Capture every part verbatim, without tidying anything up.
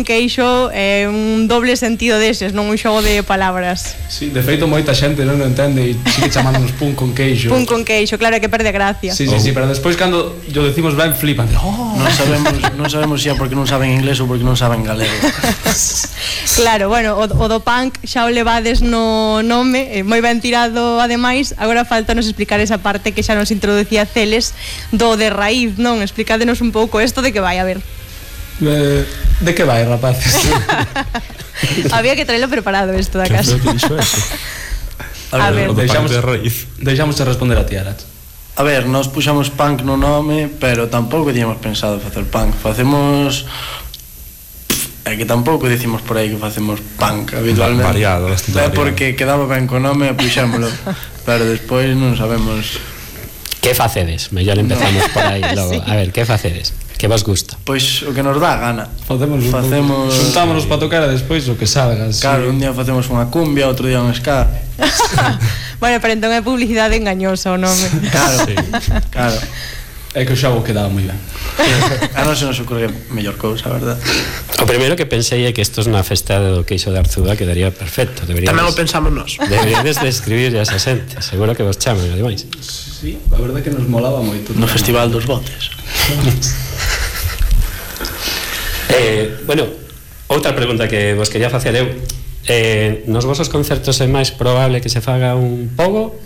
queixo é un doble sentido deses, non un xogo de palabras. Sí, de feito moita xente non o entende e sigue chamándonos pun con queixo. Pun con queixo, claro que perde gracia. Sí, sí, sí, pero despois cando yo decimos ben flipan. Oh. Non sabemos, non sabemos xa porque non saben inglés ou porque non saben galego. Claro, bueno, o, o do punk xa o levades no nome, eh, moi ben tirado ademais. Agora falta nos explicar esa parte que xa nos introducía Celes do de raíz, non? Explícadenos un pouco isto de que vai a ver. Eh, de que vai, rapaces? Había que traerlo preparado isto da casa. Que dixo eso? A, a ver, o do deixamos, punk de raíz. Deixamos de responder a ti, Arat. A ver, nós puxamos punk no nome, pero tampouco tiñamos pensado facer punk. Facemos... É que tampouco dicimos por aí que facemos punk habitualmente. Variado, bastante variado. É porque quedaba ben co nome e puxámoslo. Pero despois non sabemos... Que facedes? Mellor empezamos por aí logo. A ver, que facedes? Que vos gusta? Pois o que nos dá gana. Facemos, facemos... Xuntámonos para tocar e despois o que salga. Claro, sí. Un día facemos unha cumbia, outro día un ska. Bueno, pero entón é publicidade engañosa o nome. Claro, sí. Claro. É que o xogo quedaba moi ben. A non se nos ocurre mellor cousa, a verdad. O primeiro que pensei é que estos na festa do queixo de Arzúa quedaría perfecto. Deberíades, Tamén o pensamos nós. Deberíades de escribir a esa xente. Seguro que vos chaman, ademais. Sí, a verdade que nos molaba moito. No Festival dos Botes. eh, Bueno, outra pregunta que vos quería facer eu. Eh, nos vosos concertos é máis probable que se faga un pogo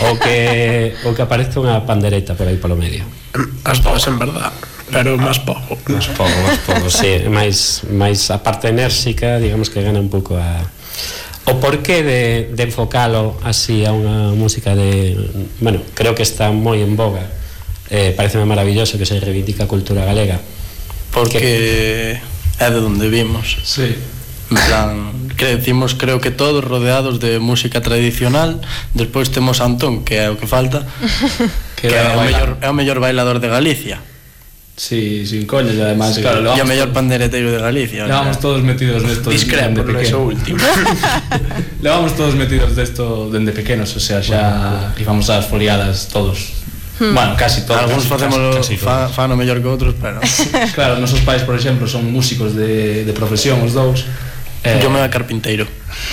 ou que, ou que aparezca unha pandereta por aí polo medio? As dúas, en verdad, pero máis pogo. Máis pogo, máis pogo, sí. máis, máis a parte enérxica, digamos que gana un pouco a... O porqué de, de enfocalo así a unha música de... Bueno, creo que está moi en boga. Eh, pareceme maravilloso que se reivindica a cultura galega. Porque é de onde vimos. Sí. En plan, crecimos creo que todos rodeados de música tradicional. Despois temos a Antón, que é o que falta, que, que é, o mellor, é o mellor bailador de Galicia. Sí, sin coñas, e además, sí. Claro, e o mellor pandereteiro de Galicia. Levamos todos metidos nesto discrepo, no eso último. Levamos todos metidos desto dende pequenos, o sea, xa íbamos ás foliadas todos. Hmm. Bueno, casi todos. Alguns facemos fa, fa no mellor que outros, pero claro, nosos pais, por exemplo, son músicos de, de profesión, os dous. Eh, yo me da carpinteiro.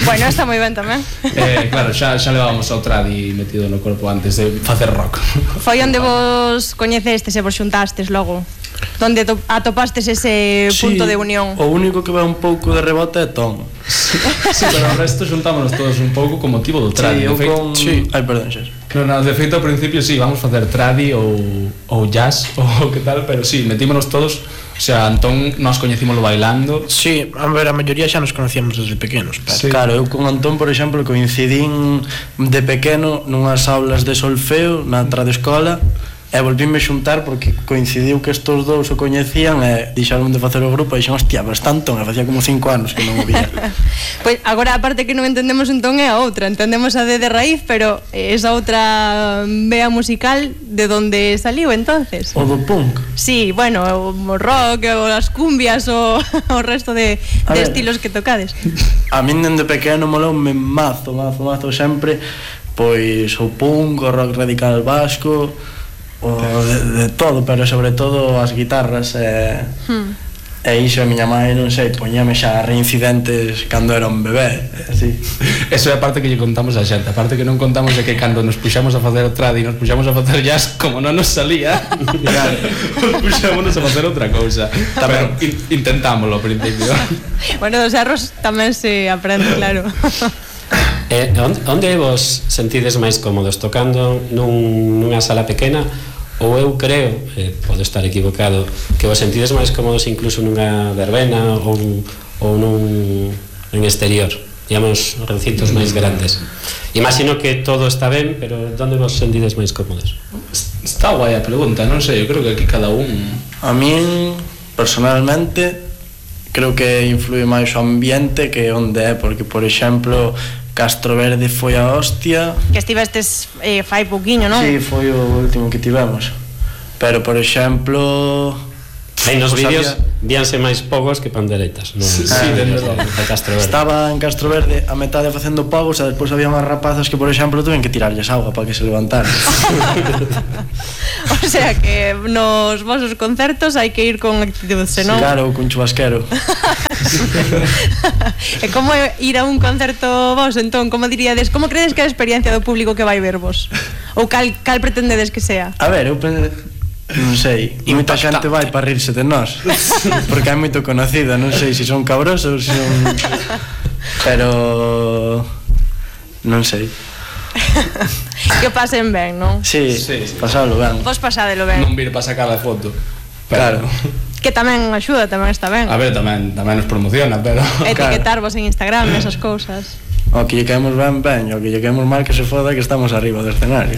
Bueno, está moi ben tamén. Eh, claro, xa, xa levábamos ao tradi metido no corpo antes de facer rock. Foi onde vos coñecestes e vos xuntastes logo? Donde atopastes ese sí, punto de unión? O único que vai un pouco de rebote é Tom. Sí, sí, pero o resto xuntámonos todos un pouco con motivo do tradi. Sí, eu feito, con... Sí. Ai, perdón, xa. No, no, de feito, ao principio, sí, vamos facer tradi ou, ou jazz ou que tal, pero sí, metímonos todos. O sea, Antón nos coñecímoslo bailando. Sí, a ver, a maioría xa nos conocíamos desde pequenos, pero... Sí. Claro, eu con Antón, por exemplo, coincidín de pequeno nunhas aulas de solfeo na tradiescola e volvíme xuntar porque coincidiu que estos dous o coñecían e dixeron de facer o grupo e dixen, hostia, pero está Antón, e facía como cinco anos que non o vía. Pois agora a parte que non entendemos entón é a outra, entendemos a de de raíz, pero esa outra vea musical de onde saliu entonces? O do punk? Sí, bueno, o rock, o as cumbias, o, o resto de, de estilos que tocades. A min dende pequeno moloume mazo, mazo, mazo sempre, pois o punk, o rock radical vasco, o de, de todo, pero sobre todo as guitarras e, hmm. e iso a miña mãe, non sei, poñame xa reincidentes cando era un bebé, así. Eso é a parte que lle contamos a xente. A parte que non contamos é que cando nos puxamos a facer o trad e nos puxamos a facer jazz, como non nos salía, claro, nos puxámonos a facer outra cousa. Pero in, intentámoslo ao principio. Bueno, dos erros tamén se aprende, claro. Eh, onde, onde vos sentides máis cómodos? Tocando nun, nunha sala pequena? Ou eu creo, eh, podo estar equivocado, que vos sentides máis cómodos incluso nunha verbena ou, ou nun en exterior, digamos, recintos mm. máis grandes. Imagino que todo está ben, pero onde vos sentides máis cómodos? Está guai a pregunta, non sei, eu creo que aquí cada un... A min, personalmente, creo que influe máis o ambiente que onde é, porque, por exemplo, Castro Verde foi a hostia. Que estivestes eh, fai pouquiño, non? Sí, foi o último que tivemos. Pero, por exemplo, En nos Pues vídeos había- víanse máis pogos que panderetas, non? Sí, sí, dende logo. De Castro Verde. Estaba en Castro Verde a metade facendo pagos e despois había unhas rapazas que, por exemplo, tuven que tirarlles agua para que se levantaran. O sea que nos vosos concertos hai que ir con actitud, senón... Claro, cun chubasquero. E como é ir a un concerto vos, entón, como diríades, como credes que é a experiencia do público que vai vervos? Ou cal, cal pretendedes que sea? A ver, eu pen... non sei, moita xente vai para rirse de nós, porque é moito conocida, non sei se son cabrosos, se son... pero non sei. Que pasen ben, non? Sí, Sí. sí. pasalo ben. Vos pasadelo ben. Non vir para sacar a foto. Claro. Que tamén axuda, tamén está ben. A ver, tamén tamén nos promociona, pero Etiquetarvos en Instagram, esas cousas. O que lle caemos ben, ben, o que lle caemos mal que se foda que estamos arriba do escenario.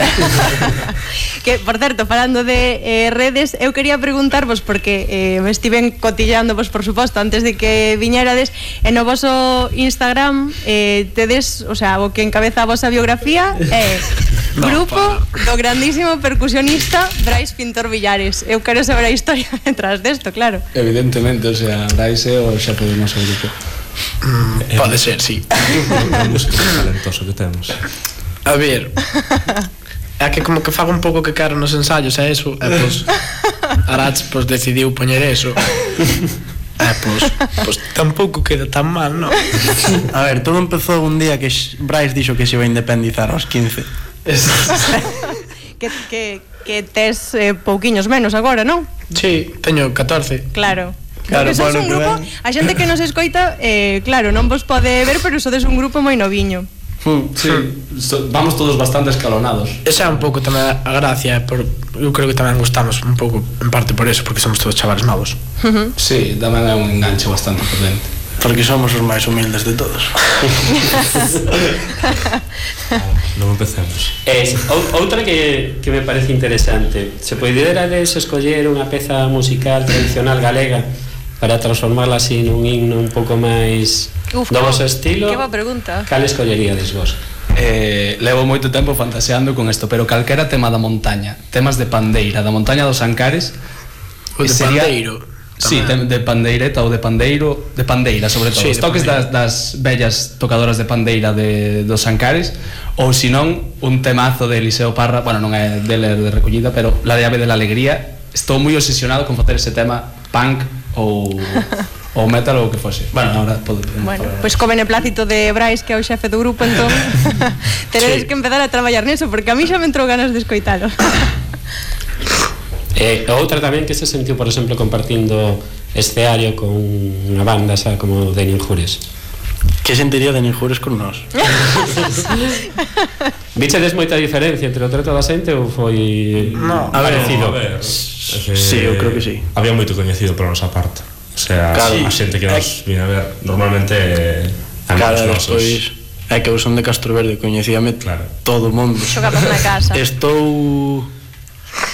Que, por certo, falando de eh, redes, eu quería preguntarvos, porque eh, me estiven cotilleándovos, por suposto, antes de que viñerades, e no voso Instagram eh, tedes, o sea, o que encabeza a vosa biografía é No, grupo pa. do grandísimo percusionista Brais Pintor Villares. Eu quero saber a historia detrás desto, claro. evidentemente, o sea, Brais é o xefe do noso grupo. Mm, pode ser, sí. É un músico talentoso que temos. A ver, é que como que fago un pouco que caro nos ensayos e eso, e pois Arach pois decidiu poñer eso. E pois, pois tampouco queda tan mal, non? A ver, todo empezou un día que X- Brais dixo que se iba a independizar aos quince. que, que, que tes eh, pouquiños menos agora, non? Sí, teño catorce. Claro. Claro, Porque sois bueno, un que grupo, ben. a xente que nos escoita, eh, claro, non vos pode ver, pero sodes un grupo moi noviño. Hmm. Sí, so, vamos todos bastante escalonados. Esa é un pouco tamén a gracia, por, eu creo que tamén gustamos un pouco, en parte por eso, porque somos todos chavales novos. Sí, tamén é un enganche bastante potente. Porque somos os máis humildes de todos. Non empecemos. Es, ou, outra que, que me parece interesante, se poderades escoller unha peza musical tradicional galega para transformarla así nun himno un pouco máis Uf, do que- vosso estilo, que boa pregunta. cal escolleríades vos? Eh, levo moito tempo fantaseando con isto, pero calquera tema da montaña, temas de pandeira, da montaña dos Ancares. O de sería- pandeiro. Sí, tamén. de, de pandeireta ou de pandeiro, de pandeira sobre todo. Sí, Os de toques das, pandeira. das bellas tocadoras de pandeira de dos Ancares, ou senón un temazo de Eliseo Parra, bueno, non é dele de recollida, pero La de Ave de la Alegría. Estou moi obsesionado con facer ese tema punk ou ou metal ou o que fose. Bueno, ahora pode. Bueno, pois pues co beneplácito de Brais, que é o xefe do grupo, entón teredes Sí. que empezar a traballar niso, porque a mí xa me entrou ganas de escoitalo. E outra tamén que se sentiu, por exemplo, compartindo escenario con unha banda xa como de Ninjures. Que sentiría de Ninjures con nós? Vichedes moita diferencia entre o trato da xente ou foi No, a ver, parecido? A ver, é que Sí, eu creo que sí. Había moito coñecido por a nosa parte. O sea, Claro. a xente que nos viene a ver normalmente é Cara, amigos nosos. despois é que eu son de Castro Verde, coñecíame Claro. todo o mundo. Xogamos na casa. Estou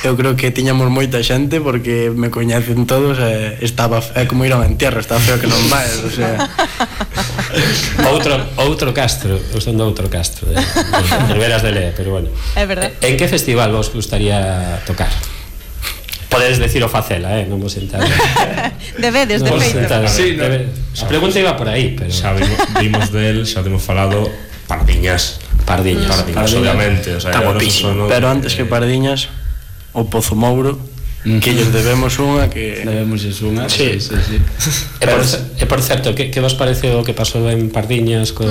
eu creo que tiñamos moita xente porque me coñecen todos e estaba é como ir a un entierro, estaba feo que non vai, o sea, Outro outro Castro, eu son do outro Castro, de, de Riberas de Lea, pero bueno. É verdad. En que festival vos gustaría tocar? Podedes decir o facela, eh, non vos sentar. Debedes, de Non vos feito. sentar. Sí, no. Debe- A pregunta iba por aí, pero Xa vimos, vimos del, xa temos falado Pardiñas. Pardiñas. Pardiñas, Pardiñas. obviamente, o sea, Está era o noso guapísimo. sono pero antes que Pardiñas o Pozo Mouro, que lles debemos unha que Debemos unha. Sí. sí, sí. E por, e por certo, que, que vos pareceu o que pasou en Pardiñas co...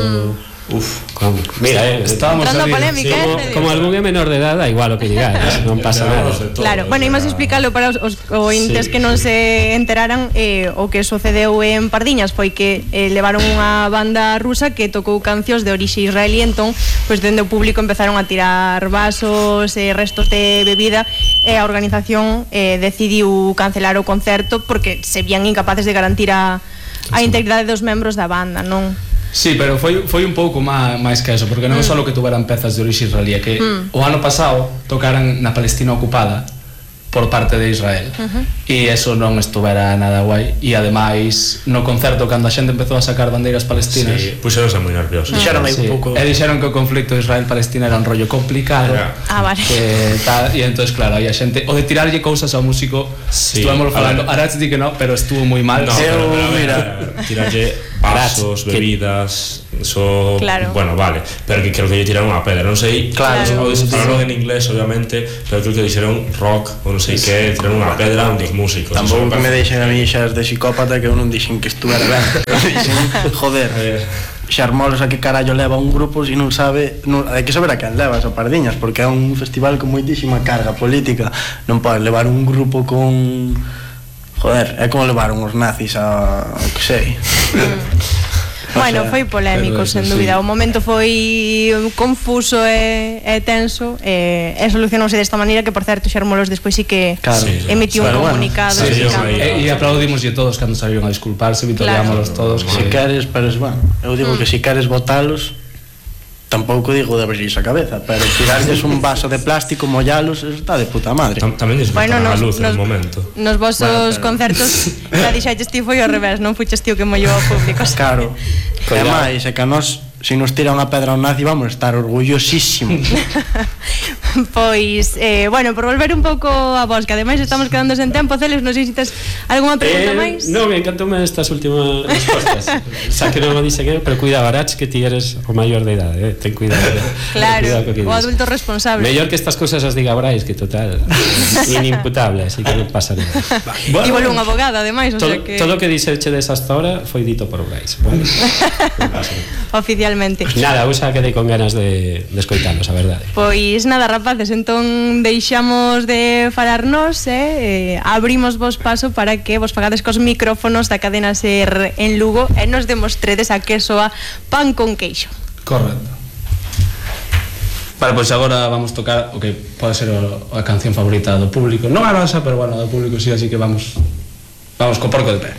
Uf, con, mira, eh, Estábamos Entrando ali, polémica, como, eh, como algún é menor de edad, da igual o que digades, non pasa nada. Claro, bueno, imos explicarlo para os, os ointes Sí. que non se enteraran. eh, O que sucedeu en Pardiñas foi que eh, levaron unha banda rusa que tocou cancións de orixe israelí, entón, pois dende o público empezaron a tirar vasos e restos de bebida, e a organización eh, decidiu cancelar o concerto porque se vían incapaces de garantir a, a integridade dos membros da banda, non? Sí, pero foi, foi un pouco má, máis que eso, porque non é só que tuveran pezas de orixe israelí, é que mm. o ano pasado tocaran na Palestina ocupada por parte de Israel. Uh-huh. E eso non estuvera nada guai. E ademais, no concerto, cando a xente empezou a sacar bandeiras palestinas, sí, puxeronse moi nerviosos. Dixeron aí sí, un pouco. E dixeron que o conflicto de Israel-Palestina era un rollo complicado. Yeah. Ah, vale. Que tal, e entonces claro, aí a xente o de tirarlle cousas ao músico, sí, estuvemos falando, Arach di que no, pero estuvo moi mal. No, Eu, pero, pero, mira, mira, tirarlle vasos, que- bebidas, eso, Claro. bueno, vale, pero que creo que lle tiraron unha pedra, non sei, Claro. o falaron en inglés, obviamente, pero creo que dixeron rock, ou non sei que, tiraron unha pedra a un dos músicos. tampouco Eso que me parece- deixen a mí xas de psicópata, que eu non dixen que estuvera ben. Dixen, joder, xarmolos a que carallo leva un grupo se non sabe, non, hai que saber a quen levas a Pardiñas, porque é un festival con moitísima carga política, non podes levar un grupo con, joder, é como levaron os nazis a, que sei. Bueno, sea, foi polémico, pero eso sen sí. dúbida. O momento foi confuso e, e tenso e, e solucionouse desta maneira que, por certo, Xermolos despois sí que Claro. Sí, sí. emitiu un Pero bueno, comunicado sí, sí, explicando. sí. E, e aplaudimoslle todos cando salieron a disculparse, vitoriámolos todos. Si Que, queres, pero es bueno, eu digo que si queres botalos, tampouco digo de abrirles a cabeza, pero tirarles un vaso de plástico, mollalos, está de puta madre. Tam- Tamén lles Bueno, faltaba a nos, luz en nos, un momento. nos vosos Bueno, pero- concertos xa dixaches ti foi ao revés, non fuches ti o que mollou ao público. Claro. E máis, é que a nós, se nos tira unha pedra ao nazi, vamos a estar orgullosísimos. Pois, eh, bueno, por volver un pouco a vos, que ademais estamos quedando sen tempo, Celes, non sei se tes algunha pregunta Eh, máis? non, me encantoume estas últimas respostas. Xa que non o dixen eu, pero cuidado, Arach, que ti eres o maior de idade, eh? Ten cuidado. Claro, cuidado co que o dis. adulto responsable. Mellor que estas cousas as diga Brais, que total, inimputable, así que non pasa nada. Bueno, Igual un abogado, ademais, o Todo, sea que todo o que dixechedes hasta ahora foi dito por Brais, vale? oficialmente. Nada, eu xa quedei con ganas de, de escoitalos, a verdade. Pois nada, rapaces, entón deixamos de falarnos e eh, abrimos vos paso para que vos fagades cos micrófonos da cadena SER en Lugo e nos demostredes a que soa pan con queixo. correcto. Vale, pois agora vamos tocar o que pode ser o, a canción favorita do público. Non a nosa, pero bueno, do público sí, así que vamos vamos co porco de pé.